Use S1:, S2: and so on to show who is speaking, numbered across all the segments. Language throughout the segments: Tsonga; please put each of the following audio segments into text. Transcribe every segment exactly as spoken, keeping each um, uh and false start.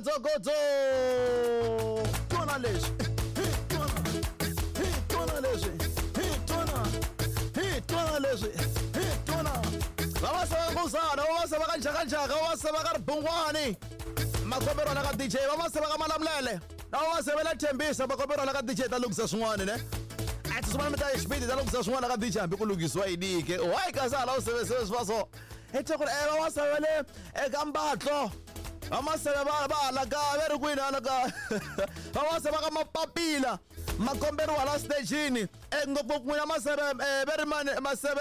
S1: Godzo twana leswi hi twana leswi hi twana hi twana leswi hi twana vavasava nkosana vavasava ka njhakanjhaka vavasava ka ribungwani makombelo la ka D J vavasava ka Malamulele na vavasava la Thembisa makombelo la ka D J ta lunghisa swin'wana ne a tsumana mi ta xipidi ta lunghisa swin'wana ka D J hambi ku lunghisiwa yini ke why kasi hala u seveseve swi va so hi ku ri vavasava le eka mbatlo vamaseve va va hala ka ve ri kwini hala ka vavasava ka mapapila makomberiwa la stejini ngopfu n'wina maseve ve ri mani maseve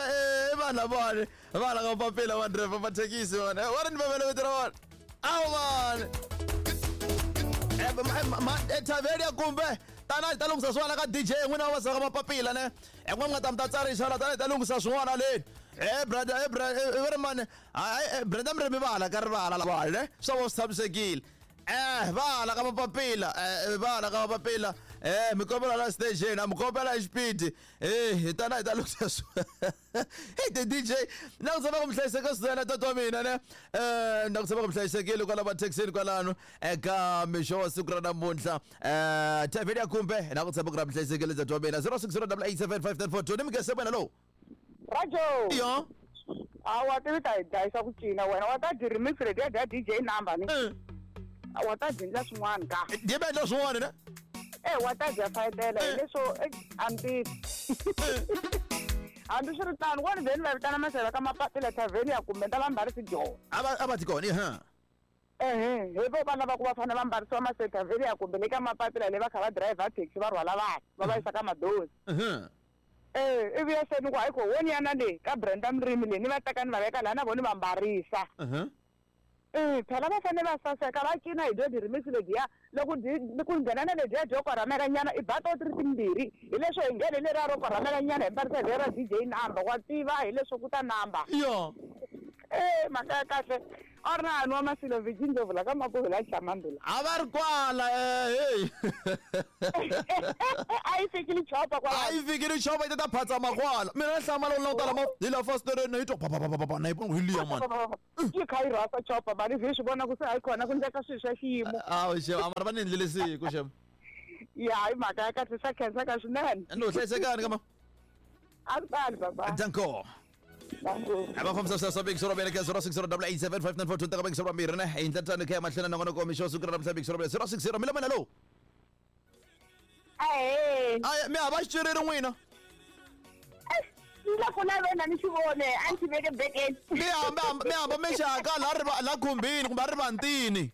S1: i vanhu lavawani va hala ka mapapila va driver mathekisi vona va ri ni vevele vito ra vona awu mani ethavheni ya kumbe tana hi ta lunghisa swin'wana ka D J n'wina vavasava ka mapapila ne n'we mi nga ta mi ta tsarisa la tana hi ta lunghisa swin'wana leni eh brother eh brother ve ri mani hayi Brenda Mrimi va hala ka rivala lavawani ne swa vo swi tshamisekile eh va hala ka mapapila eh va hala ka mapapila eh mi kombela la station a mi kombela hi xipidi eh hi tana hi ta lunghisa swi hey the D J na ku tshama ku mi hlayiseka swinene tata wa mina ne eh na ku tshama ku mi hlayisekile kwala mathekisini kwalano eka mixo wa siku ra namuntlha eh thavheni ya kumbe na ku tshama ku ra mi hlayisekile tata wa mina zero six zero double eight seven five nine four two ni mi gese wena lowu
S2: Rajo
S1: yo
S2: a wa tivi ta hi dlayisa ku cina wena wa ta dyi remix leti ya dya D J number ni wa ta dyi endla swin'wana ka
S1: dyi va endla swin'wana ne
S2: e wa ta dya fayetela hileswo a ni tivi hambi swi ri tano wo ni vheni va vitana maseve ka mapapila thavheni ya kumbe ni ta va mbarisi dyona
S1: a va a va ti kona ha
S2: ehe hi vo vana va ku va fanele va mbarisiwa mase thavheni ya kumbe le ka mapapila le va kha va driver taxi va rhwala vanhu va va yisa ka madozi eh ivi ya se ni ku hayi ko woni yana le ka Brenda Mrimi le ni va teka ni va veka laha na vona va mbarisa eh phela va fanele va saseka va cina hi dyo di-remix lediya loko ku nghena na lediya dyo korhamela nyana i ba to ti ri timbirhi hi leswo hi nghene leriya ro korhamela nyana hi mbarisa leriya ra D J number wa tiva hi leswo ku ta number
S1: yo
S2: eh mhaka ya kahle a ri na hani wa Masilo Virgin Ndlovu la ka Mapuve la Chamandula
S1: a va ri kwala eh hey
S2: a yi fikile chopa kwala
S1: a yi fikile chopa yi ta ta phatsa makwala mina na hlamala u languta lama hi la fasitereni yi twa pa pa pa pa pa na yi vona hi liya mani
S2: yi kha yi rhasa chopa mani vi swi vona ku se hayi kona ku ndleka swilo swa xiyimo
S1: awu xem a mara va ni endlele siku xem
S2: ya hi mhaka ya kahle swa khenseka swinene
S1: no hlayisekani kama
S2: a ri tali baba
S1: danko va fambisa swa big zero beleke zero six zero double eight seven five nine four two taka big zero mbirhi ne hi ndlela tani kha mahlweni na ngona mixo siku ra namuntlha big zero zero six zero mi lamela lowu
S3: ahee
S1: aya mi hava xiciriri n'wina
S3: ni la ku lavena ni xi vone a ni xi veke bekeni
S1: mi hamba mi hamba mi xaka la ri la khumbini kumbe a rivantini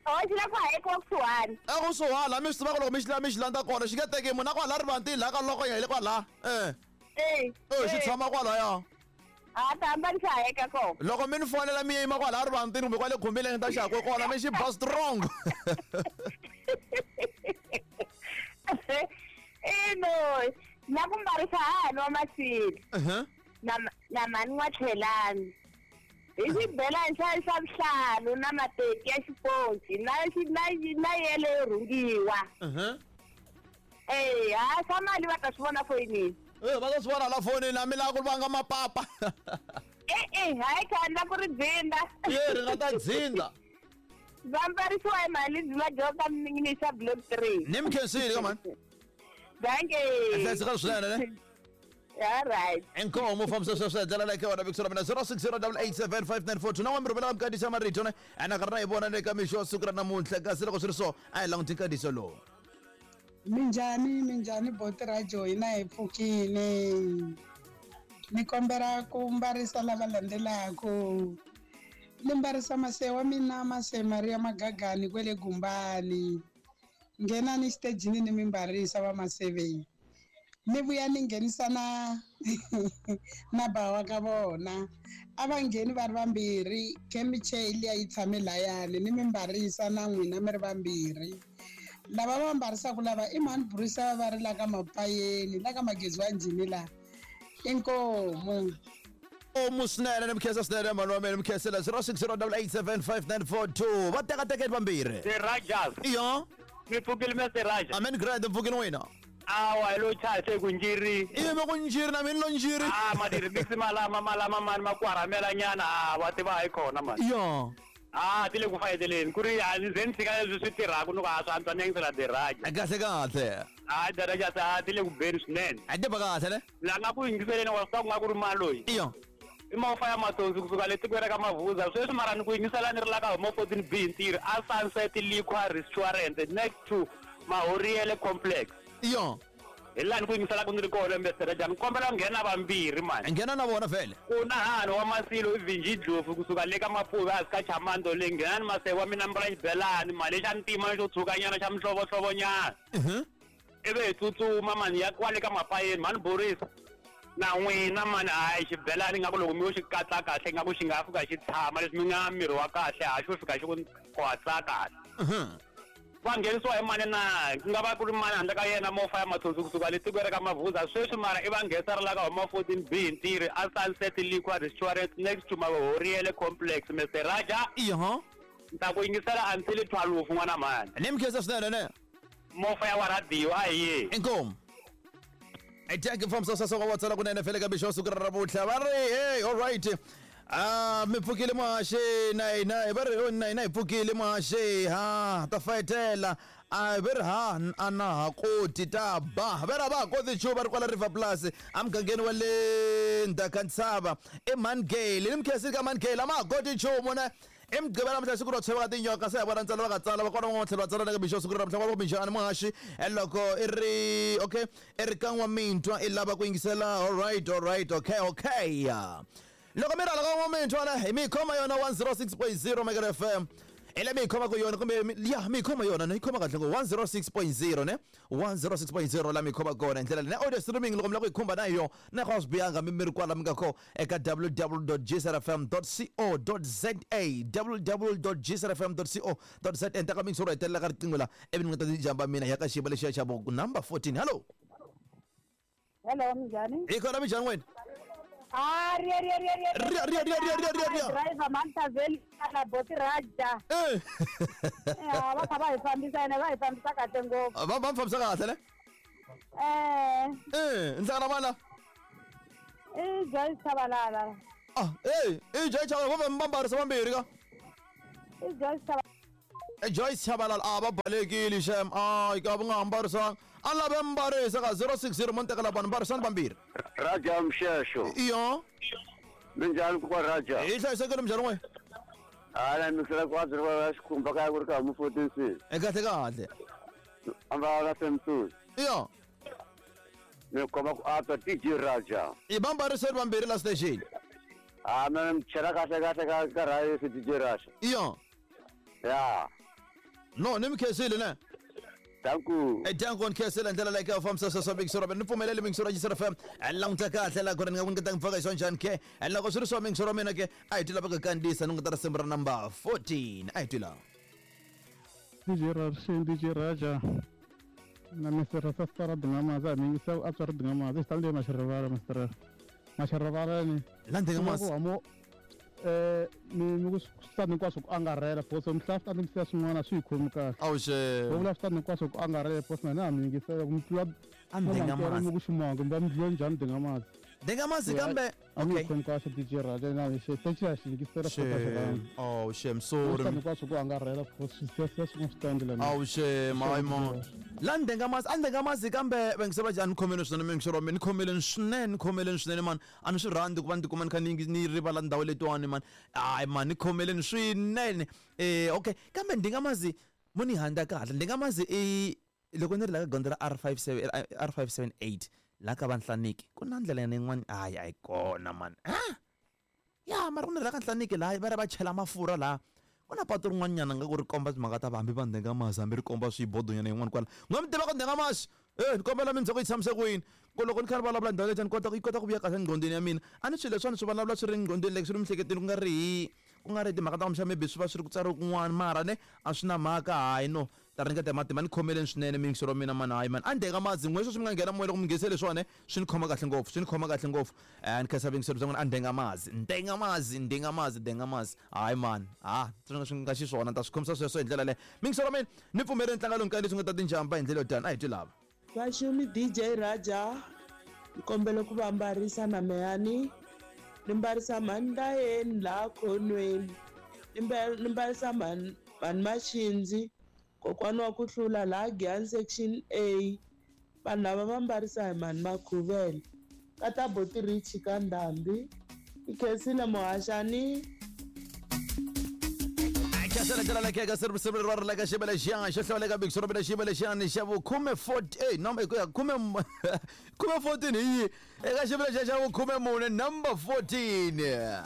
S3: o xi la ku hayekiwa kusuhani
S1: ekusuhani laha mi swi tivaka loko mi xi la mi xi landza kona xi nge teki munhu a kwala rivantini laha ka loko ya hi le kwala eh
S3: eh
S1: eh xi tshama kwalaya
S3: a ta hamba ni xi hayeka kona
S1: loko mi ni fonela mi yima kwala rivantini kumbe kwale khumbini ni ta xi hakwe kona mi xi ba strong
S3: ino na ku mbarisa hahani wa Masilo na na mhani N'watlhelani hi xibelani xa xa vuhlalu na mateki ya xiponci na na na yele yo rhungiwa eh ha swa mali va ta swi vona foyinini
S1: eh va ta swi vona la fonini a mi lava ku vanga mapapa
S3: e e hayi kha ni la ku ri dzinda
S1: ye ri nga ta dzinda
S3: va mbarisiwa hi mali ndzi va dyoka minisa block three
S1: ni mi khensile ka mani
S3: danke
S1: hlayiseka swinene ne
S3: all right
S1: inkomo fambisa sweswo hi ndlela leyi ka wena big zero mina zero six zero double eight seven five nine four two na n'we mi rhumela mikatiso marito ne ene ka ri na hi vona ne ka mixo wa siku ra namuntlha kasi loko swi ri so a hi languti nkatiso lowu
S4: minjhani minjhani boti Rajo hina hi pfukile ni kombela ku mbarisa lava landzelaku ni mbarisa mase wa mina mase Maria Magagani kwele Gumbani nghenani xitejini ni mi mbarisa va maseveni ni vuya ni nghenisa na na bawa ka vona a va ngheni va ri vambirhi khemiche liya yi tshame layani ni mi mbarisa na n'wina mi ri vambirhi lava va mbarisaka lava i mhani Bruce va ri la ka Mapayeni la ka Magezi wa Njhini la inkomu
S1: omu swinene ni mi khensa swinene mhani wa mina mi khensela zero six zero double eight seven five nine four two va teka tekeni vambirhi
S5: The Rajas
S1: iyo
S5: mi pfukile Mister Raja
S1: amen grand mpfukile n'wina
S5: awa hi lo chaya se ku njiri
S1: ivi ku njiri na mina lo njiri
S5: ah ma di-remix malama malama mani ma ku haramela nyana a wa tiva hayi kona mani
S1: yo
S5: Ah, ti le ku fayeteleni ku ri a ni ze ni tshika leswi swi tirhaka ni ku a swi antswa ni yingisela the Raja.
S1: Kahle kahle.
S5: Ah, the Raja ta ti le ku beni swinene.
S1: A ti ba kahle ne?
S5: La nga ku yingiseleni wa swi nga ku ri mali loyi.
S1: Iyo.
S5: I mafa ya matsonzi kusuka le tikweni ra ka Mavuza sweswi mara ni ku yingisela ni ri la ka Home fourteen B ntirho a Sunset Liquor Restaurant next to Mahoriele Complex.
S1: Iyo.
S5: Hi laha ni ku yingiselaka ni ri kona Mister Raja ni kombela ku nghena vambirhi mani.
S1: Nghena na vona vhele.
S5: Ku na hano wa Masilo i Vinji Dlofu kusuka le ka Mapuve a ka Chamando le nghena ni Maseko wa mina mbala xibelani mali xa ntima xo tshukanyana xa mihlovohlovonyana.
S1: Mhm.
S5: Ivi hi tsutsuma mani ya kwale ka Mapayeni mani Boris. Na n'wina mani hayi xibelani nga ku loko mi yo xi katsa kahle nga ku xi nga fika xi tshama leswi mi nga miri wa kahle ha xo fika xi ku kwatsa kahle.
S1: Mhm.
S5: Va nghenisiwa hi mani na ku nga va ku ri mani handle ka yena mofa ya matsotsi kusuka le tikweni ra ka Mavuza sweswi mara i va nghenisa ri la ka Home fourteen B ntirho a Sunset Liquor Restaurant next to Mahoriele Complex Mister Raja.
S1: Iyo.
S5: Ni ta ku yingisela until twelve n'wana mani.
S1: Ni mi khensa swinene ne.
S5: Mofa ya wa radio a hi ye.
S1: Inkomu. I thank you from sasa wa tsala kunene fele ka bisho siku ra ravutlha va ri hey all right. Ah, mi pfukile muhaxi na hina va ri na hina hi pfukile muhaxi ha ta fayetela a va ri ha a na ha koti ta ba va ri a va ha koti nchumu va ri kwala River Plus emugangeni wa le ndzhaka ntshava i Mangale ni mi khensile ka Mangale a ma ha koti nchumu ne i Mugqivela namuntlha siku ro tshova ka tinyoka se hi vona ntsena va nga tsala va kona van'wana tlhelo va tsala na ka mixo siku ra namuntlha va ku minjhani muhaxi loko i ri okay i ri ka N'wamintwa i lava ku yingisela all right all right okay okay loko mi rhala ka N'wamintwa na hi mi khoma yona one oh six point zero Mega F M i le mi yi khoma ku yona kumbe ya mi yi khoma yona ne yi khoma kahle ngo one oh six point zero ne one oh six point zero la mi yi khoma kona hi ndlela leyi na audio streaming loko mi lava ku yi khumba na yo na ku a swi bihanga mi mi ri kwala mi nga ko eka w w w dot g s r f m dot co dot z a w w w dot g s r f m dot co dot z a ntaka mingisoro hetelela ka riqingho la ivi ni nga ta ti jamba mina hi ya ka xiyimo lexiya xa vo number fourteen. Hello.
S2: Hello, minjhani?
S1: Hi kona minjhani wena?
S2: Ah, ria ria ria ria
S1: ria ria ria ria ria ria ria
S2: driver Mantaveli na Boti Raja.
S1: Eh.
S2: Ya va kha va hi fambisa ene va hi fambisa kahle ngopfu.
S1: Va va fambisa kahle ne?
S2: Eh.
S1: Eh, ndzana vana.
S2: Eh, Joyce Tshabalala.
S1: Ah, eh, eh Joyce Tshabalala va mbambarisa vambirhi ka.
S2: Eh Joyce Tshabalala.
S1: Eh Joyce Tshabalala a va balekile xem. Ai ka va nga ambarisanga. A lava mbarisa ka zero six zero mo tekela vanhu mbarisani vambirhi.
S6: Raja Mshesho.
S1: Iyo.
S6: Minjhani ku Raja?
S1: Hi hlayisekile minjhani n'we?
S6: Hala mi hlula ku va xikhumba kaya ku ri ka Home fourteen C.
S1: E kahle kahle.
S6: Amba la Samsung.
S1: Iyo.
S6: Mi komba ku antswa D J Raja.
S1: I va mbariseni vambirhi la station.
S6: Ah, mina mi chela kahle kahle ka ka rayi D J Raja.
S1: Iyo.
S6: Ya.
S1: No, ni mi khensile ne?
S6: Thank you.
S1: Eh danko nkhensela ndlela leyi ka fambisa sweswo Mixoro ni pfumeleli Mixoro G S R F M languta kahle la kona ni nga ku ni nga ta faka hi swa njhani ke loko swi ri swa Mixoro mina ke a hi twi lava ku kandziyisa ni nga ta risimu ra number fourteen a hi twi laha.
S7: D J Raja D J Raja na Mister Sastara Dingamaza mi yingisa a tswari Dingamaza xi tale Maxirivala Mister Maxirivala ni
S1: la Dingamaza
S7: mo eh mi mi ku swi hinkwaswo ku angarhela boso mi hlaya swi mi siya swin'wana swi yi khomi kahle.
S1: Awuxe
S7: vo vula swi hinkwaswo ku angarhela boso na hina mi yingisela ku mi tlula
S1: a Dingamaza
S7: mi ku ximongo mi va mi dlula njhani Dingamaza
S1: Dingamaza kambe
S7: a mi yi khomi kahle D J Raja na xi se xi xi yingisela
S1: oh shem sorry
S7: swi hinkwaswo ku angarhela boso swi siya siya swin'wana swi tandlela
S1: awuxe my mo la Dingamaza a Dingamaza kambe va ngisela njhani khomeleni swinene Mixoro mina ni khomeleni swinene ni khomeleni swinene mani a ni swi rhandzi ku va ni tikuma ni kha ni ni rivala ndhawu letiwani mani hayi mani ni khomeleni swinene eh okay kambe Dingamazi mo ni handza kahle Dingamazi i loko ni ri la ka gondzo ra R five seven R five seven eight la ka Vanhlaniki ku na ndlela yin'wana hayi a yi kona mani ah ya mara ku ni ri la ka Nhlaniki laha va ri va chela mafurha laha ku na patu rin'wanyana nga ku ri komba timhaka ta hambi va Dingamazi hambi ri komba swibodonyana yin'wana kwala n'we mi tiva ku Dingamazi eh ni kombela mi ndzhaku yi tshamise ku yini ku loko ni kha ni vulavula ndhawu leyi ni kota yi kota ku vuya kahle enqhondweni ya mina a ni swilo leswiwani swi vulavula swi ri enqhondweni like swi ri miehleketweni ku nga ri hi ku nga ri timhaka ta kumbexana maybe swi va swi ri ku tsariwe kun'wana mara ne a swi na mhaka hayi no ta ringeta hi matimba ni khomeleni swinene mixoro mina mani hayi mani a Dingamazi n'we sweswi mi nga nghena moya loko mi nghenise leswiwani swi ni khoma kahle ngopfu swi ni khoma kahle ngopfu eh ni khensa vingiselo bya n'wina a Dingamazi Dingamazi Dingamazi Dingamazi hayi mani ha swi swi nga xiswona ni ta swi khomisa sweswo hi ndlela leyo mixoro mina ni pfumeleni ntlangu lowu nkarhi leswi nga ta tinjamba hi ndlela yo tani a hi twi lava.
S8: Vaxumi D J Raja ni kombela ku va mbarisa na meyani ni mbarisa mhani ndayeni laha khonweni Ni mbarisa mhani mhani Maxindzi, kokwana wa ku hlula laha Giyani section A. Vanhu lava va mbarisa hi mhani Makhuvele. Ka ta Boti Rich ka Ndhambi. I khensile muhaxani.
S1: Khensile ndlela lekhe ka sirivisivi ra ri leka xibele xiya xo hlawuleka big xo xibele xiyani xa vu khume forty number ku ya khume khume fourteen hi yi eka xibele xa xa vu khume mune number fourteen. A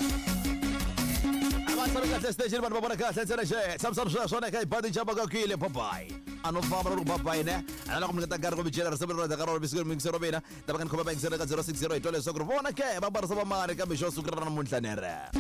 S1: va tshami kahle station vanhu va vona kahle ntsena xe tshamisani sweswo na eka ibadi jamba ka kwile bye bye. A no famba loko bye bye ne a loko mi nga ta nkarhi ku mi byela risimu ra ka rona bisiko mi ngisero mina ta va ka ni khoma va yingisela ka zero six zero hi twa leswaku ri vona ke va barisa va mani kambe xo sukela namuntlha nere.